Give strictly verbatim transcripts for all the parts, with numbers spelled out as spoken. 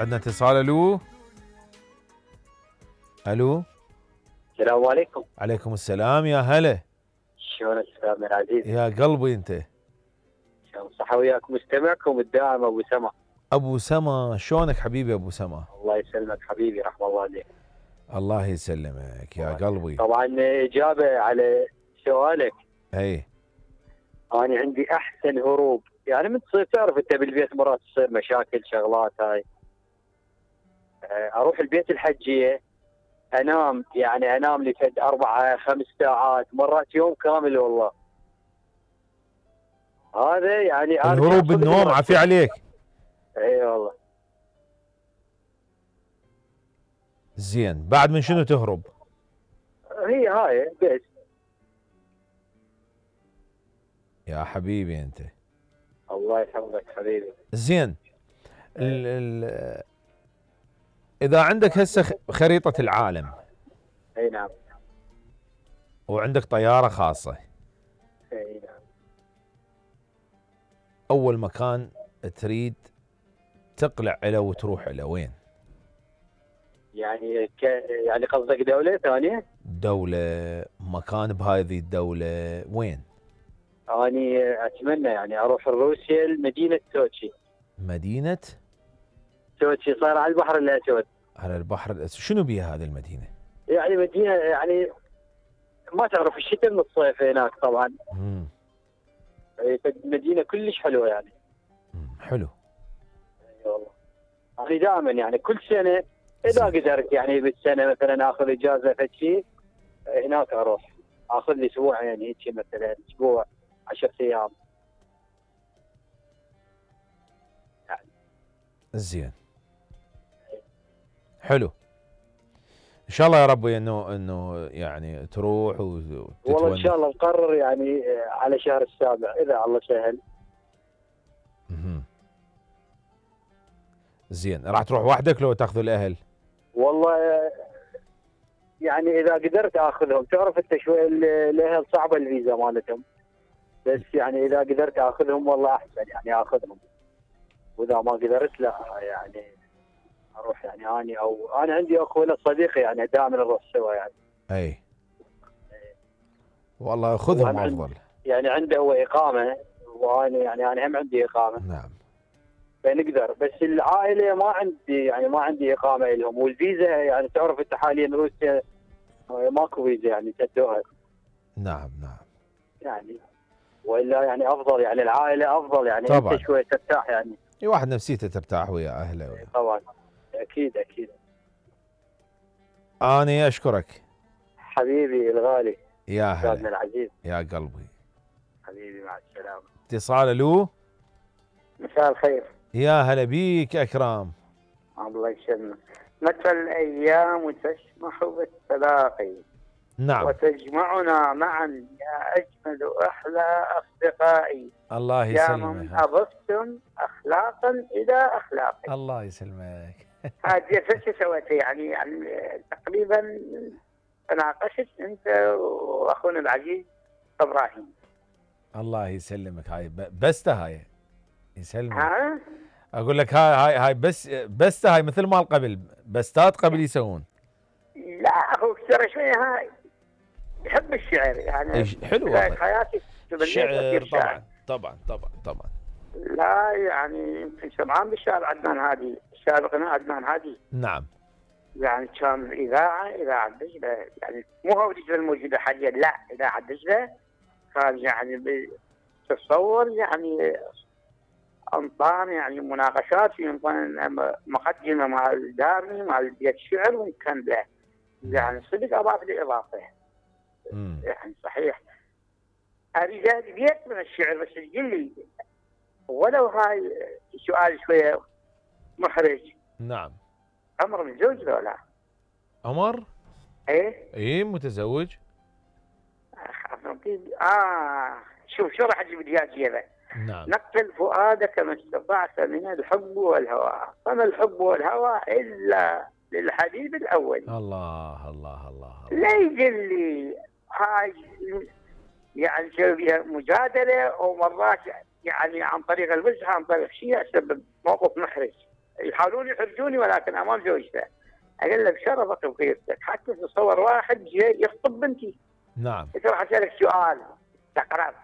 عندنا اتصال. الو الو السلام عليكم. عليكم السلام يا هلا. شلونك استاذنا العزيز؟ يا قلبي انت. شلون صحة وياك مستمعكم الدائم ابو سما. ابو سما شلونك حبيبي ابو سما؟ الله يسلمك حبيبي رحم الله عليك. الله يسلمك يا قلبي. طبعا اجابة على سؤالك. اي انا عندي احسن هروب، يعني من تصير تعرف انت بالبيت مرات تصير مشاكل شغلات هاي. اروح البيت الحجية انام، يعني انام لفد اربع خمس ساعات مرات يوم كامل والله. هذا يعني الهروب بالنوم عافي عليك. اي والله. زين بعد من شنو تهرب؟ هي هاي بس. يا حبيبي انت. الله يحفظك حبيبي. زين ال ال اذا عندك هسه خريطة العالم. اي نعم. وعندك طيارة خاصة. اي نعم. اول مكان تريد تقلع له وتروح له وين؟ يعني ك... يعني قصدك دولة ثانية؟ دولة، مكان بهذه الدولة وين؟ اني اتمنى يعني اروح روسيا لمدينة سوتشي. مدينة؟ سوتشي صار على البحر الاسود. على البحر الاسود، شنو بيها هذه المدينة؟ يعني مدينة يعني ما تعرف الشتاء من الصيف هناك طبعا. امم مدينة كلش حلوة يعني. امم حلو. اي والله. انا دائما يعني كل سنة اذا قدرت يعني بالسنة مثلا اخذ اجازة فشي هناك اروح. اخذ لي اسبوعين هيك مثلا اسبوع عشر ايام. يعني. زين. حلو. ان شاء الله يا ربي انه انه يعني تروح وتتونس. والله ان شاء الله مقرر يعني على شهر السابع اذا الله سهل. اها. زين راح تروح وحدك لو تاخذ الاهل؟ والله يعني اذا قدرت اخذهم، تعرف انت شوي الاهل صعبه الفيزا مالتهم، بس يعني اذا قدرت اخذهم والله احسن يعني اخذهم، واذا ما قدرت لا يعني اروح يعني اني او انا عندي اخوه صديقي يعني دائما نروح سوا يعني. اي والله خذهم افضل. يعني عنده هو اقامه وانا يعني انا هم عندي اقامه. نعم. فنقدر، بس العائله ما عندي يعني ما عندي اقامه لهم، والفيزا يعني تعرف انت حاليا روسيا ماكو فيزا يعني تدوها. نعم نعم. يعني والا يعني افضل يعني العائله افضل يعني طبعا. انت شوي ترتاح يعني. اي واحد نفسيته ترتاح ويا اهله ويا. طبعا اكيد اكيد. اني اشكرك حبيبي الغالي. يا هلا. استاذنا العزيز. يا قلبي. حبيبي مع السلامه. اتصال. الو. مساء الخير. يا هلا بيك اكرام. الله يسلمك. متى الايام وتسمح بالتلاقي. نعم. وتجمعنا معا يا اجمل واحلى اصدقائي. الله يسلمك. يا من اضفتم اخلاقا الى اخلاقي. الله يسلمك. هذه ايش سويت يعني يعني تقريبا تناقشت انت واخونا العزيز ابراهيم. الله يسلمك. هاي بسته هاي يسلمك. ها؟ اقول لك هاي هاي هاي بس بسته هاي مثل مال قبل، بستات قبل يسوون. لا اخوك ترى شويه هاي يحب الشعر يعني. حلو والله. حياتي الشعر طبعا طبعا طبعا طبعا. لا يعني يمكن سمعان بالشعر عدنان هادي، الشاعر الغناء عدنان هادي. نعم. يعني كان الاذاعه اذاعه دجله، يعني مو هو دجله الموجوده حاليا، لا اذاعه دجله كان يعني تتصور يعني انطان يعني مناقشات في مقدمه مال دارمي مال بيت شعر وكان له يعني صدق اضاف لي اضافه. يعني صحيح اريد بيت من الشعر، بس تقول لي ولو هاي سؤال شويه محرج. نعم. عمر متزوج لو لا؟ عمر؟ ايه؟ ايه متزوج. اه شوف شو راح اجيب لي اياه. نعم. نقل فؤادك ما استطعت من الحب والهوى، فما الحب والهوى الا للحبيب الاول. الله الله الله. لا يقول لي هاي يعني تسوي بها مجادله ومرات يعني عن طريق الوجه عن طريق شيء يسبب موقف محرج يحاولون يحرجوني ولكن امام زوجته. اقول له بشرفك وخيرتك حتى تصور واحد جاي يخطب بنتي. نعم. قلت له راح اسالك سؤال تقرب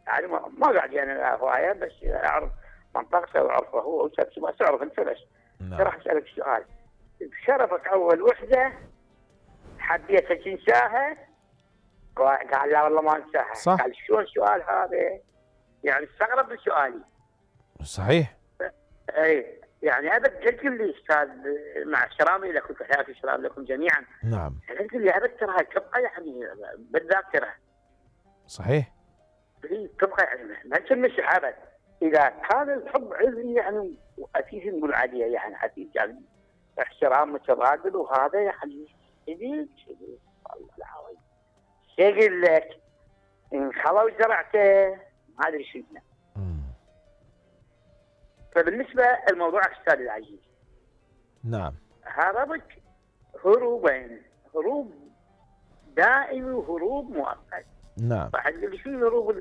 يعني ما ما قاعد يعني هوايه بس اعرف منطقته واعرفه هو وسبسي ما تعرف انت بس. نعم. راح اسالك سؤال بشرفك اول وحده حبيت تنساها؟ قال لا والله ما انساها. صح. قال شلون السؤال هذا؟ يعني استغرب من سؤالي. صحيح. اي يعني ابد قلت لي استاذ مع احترامي لكم تحياتي السلام لكم جميعا. نعم. قلت لي ابد ترى تبقى يعني بالذاكره. صحيح. هي تبقى يعني ما تنمسح ابد. اذا كان الحب عذري يعني اسيس نقول عليه يعني اسيس يعني احترام متبادل وهذا يعني شديد شديد والله العظيم. يقول لك ان خلوا زرعته ما ادري شو اسمه. فبالنسبه الموضوع استاذ العزيز. نعم. هربت هروبين، هروب دائمي وهروب مؤقت. نعم. راح تقول لي شو الهروب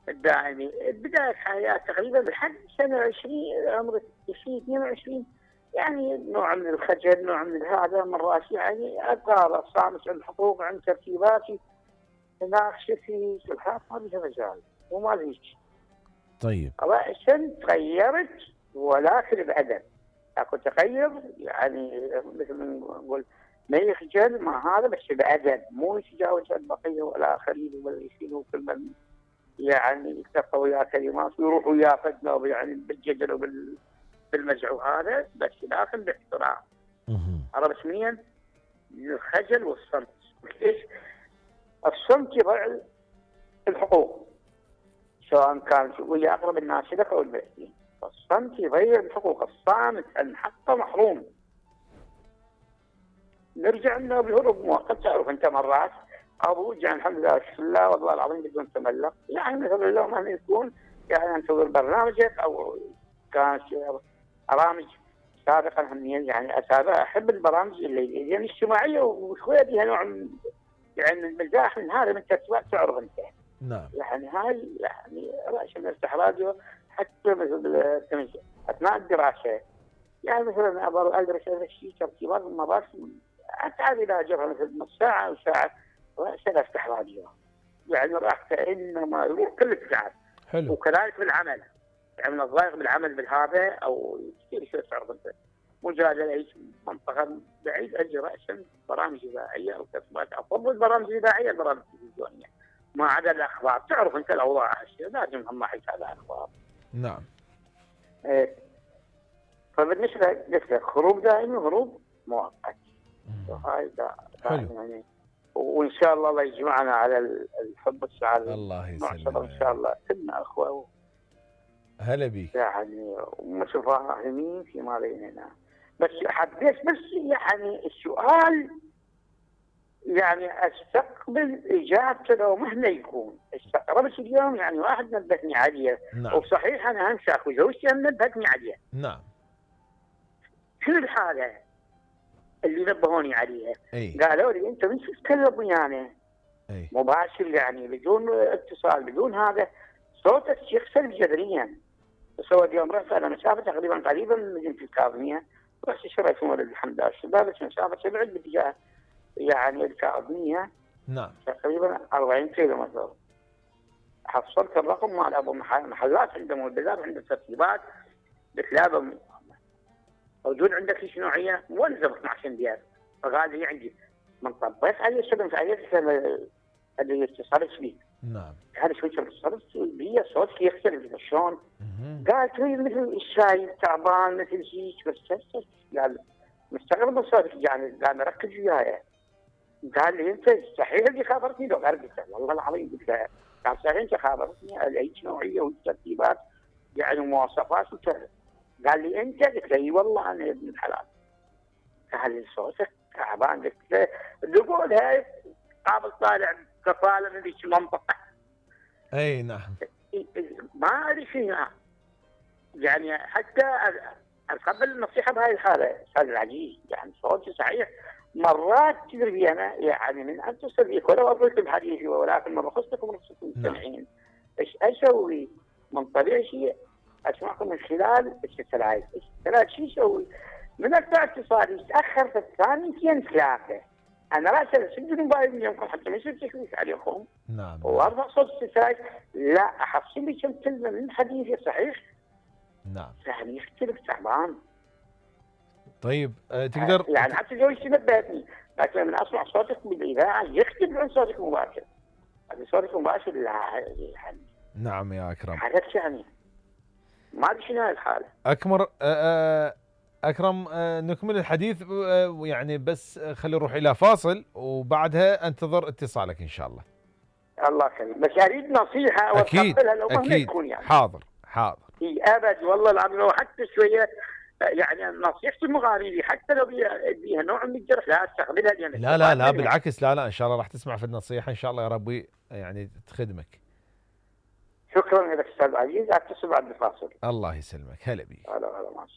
الدائمي؟ بدايه حياه تقريبا لحد سنه عشرين عمرك عشرين اثنين وعشرين يعني نوع من الخجل، نوع من هذا مرات يعني ابقى صامت عن حقوق عن ترتيباتي هناك شفي سلحات ما بيها مجال وما ليش. طيب. رأسا تغيرت ولكن بأدب. اكو تغير يعني مثل ما نقول ما يخجل ما هذا بس بأدب مو يتجاوز البقيه والاخرين ولا يشيلوا كل من يعني يتفقوا ويا كلمات ويروحوا ويا فدنا يعني بالجدل وبالمزح وهذا بس لكن باحترام. عرفت منين؟ الخجل والصمت. ليش؟ الصمت يضع الحقوق سواء كان ويا اقرب الناس لك او البعيدين. الصمت يضيع الحقوق. الصامت عن حقه محروم. نرجع انه بهروب مؤقت. تعرف انت مرات ابو جاء الحمد لله بسم الله والله العظيم بدون تملق يعني مثلا لو ما يكون يعني انتظر برنامجك او كانت برامج سابقا هم يعني اتابع احب البرامج اللي يعني الاجتماعيه وشويه فيها نوع من يعني المزاح من هذا من الترتيبات تعرف انت. نعم. يعني هاي يعني رأس نفتح راديو حتى مثل اثناء الدراسه يعني مثلا ابغى ادرس هذا الشيء ترتيبات المباحث اتعب الى اجرها مثل نص ساعه او ساعه رأسا افتح راديو يعني راح كانما يروح كل الساعات. حلو. وكذلك بالعمل يعني من الضايق بالعمل بالهذا او كثير شيء تعرف انت مجادله اي منطقه بعيد اجي راسا برامج اذاعيه او ترتيبات افضل برامج اذاعيه البرامج التلفزيونيه ما عدا الاخبار. تعرف انت الاوضاع لازم هم يتابع اخبار. نعم. ايه فبالنسبه لك هروب دائمي وهروب مؤقت. وهاي حلو. يعني وان شاء الله الله يجمعنا على الحب والسعاده. الله يسلمك ان شاء الله كلنا اخوه. هلا بيك. يعني متفاهمين فيما بيننا. بس حبيت بس يعني السؤال يعني استقبل اجابته لو مهما يكون. استغربت اليوم يعني واحد نبهني عليه. نعم. وصحيح انا همسك وزوجتي نبهتني عليه. نعم. شنو الحاله اللي نبهوني عليها؟ اي. قالوا لي انت من شو تتكلم ويانا؟ اي. مباشر يعني بدون اتصال بدون هذا صوتك يخسر جذريا. سوى اليوم رحت على مسافه تقريبا قريبه من مدينه الكاظميه رحت شريت ولد الحمد لله الشباب مسافه تبعد باتجاه يعني الكاظميه. نعم. تقريبا أربعين كيلو متر. حصلت الرقم مال ابو محلات عنده مولدات عنده ترتيبات بكلابه موجود عندك ايش نوعيه؟ مولده اثنا عشر ديار. فقال لي عندي من طبيت عليه سلمت عليه اللي اتصلت فيه. نعم. هذا شوي اتصلت بي صوتك يختلف شلون؟ قال تريد مثل الشاي تعبان مثل شيء بس قال مستغرب من صوتك يعني قال ركز وياي. قال لي انت صحيح اللي خابرتني لو قال قلت والله العظيم قلت له قال صحيح انت خابرتني اي نوعيه والترتيبات يعني مواصفات وكذا. قال لي انت قلت له اي والله انا ابن الحلال. قال لي صوتك تعبان قلت له تقول هاي قابل طالع كفاله من ذيك المنطقه. اي نعم. ما ادري شنو يعني حتى اتقبل النصيحه بهاي الحاله استاذ العزيز يعني صوتي صحيح مرات تدري انا يعني من ان تصل بك ولو اقول بحديثي ولكن ما بخصكم ورخصكم المستمعين. ايش اسوي؟ من طبيعي شيء اسمعكم من خلال الستلايت. الستلايت شو يسوي؟ من اقطع اتصالي يتاخر في الثانيتين ثلاثه. انا راح اسجل الموبايل من يومكم حتى ما يصير تشويش عليكم. نعم. وارفع صوت الستلايت، لا احصل لي كم كلمه من حديثي صحيح. نعم. يعني يختلف تعبان. طيب أه تقدر يعني حتى زوجتي نبهتني، لكن لما اسمع صوتك بالاذاعه يختلف عن صوتك المباشر. هذا صوتك المباشر لا يعني. نعم يا اكرم. حالك يعني ما ادري شنو الحاله. اكمر أه اكرم أه نكمل الحديث أه يعني بس خلي نروح الى فاصل وبعدها انتظر اتصالك ان شاء الله. الله يخليك، بس اريد نصيحه اكيد واتقبلها لو مهما اكيد تكون يعني. حاضر حاضر. اي ابد والله العظيم، لو حتى شويه يعني نصيحتي المغاربي حتى لو بيها, بيها نوع من الجرح لا استقبلها يعني. لا لا لا بالعكس، لا لا ان شاء الله راح تسمع في النصيحه ان شاء الله يا ربي يعني تخدمك. شكرا لك استاذ عزيز، اتصل بعد الفاصل. الله يسلمك، هلا بيك. هلا هلا مع السلامه.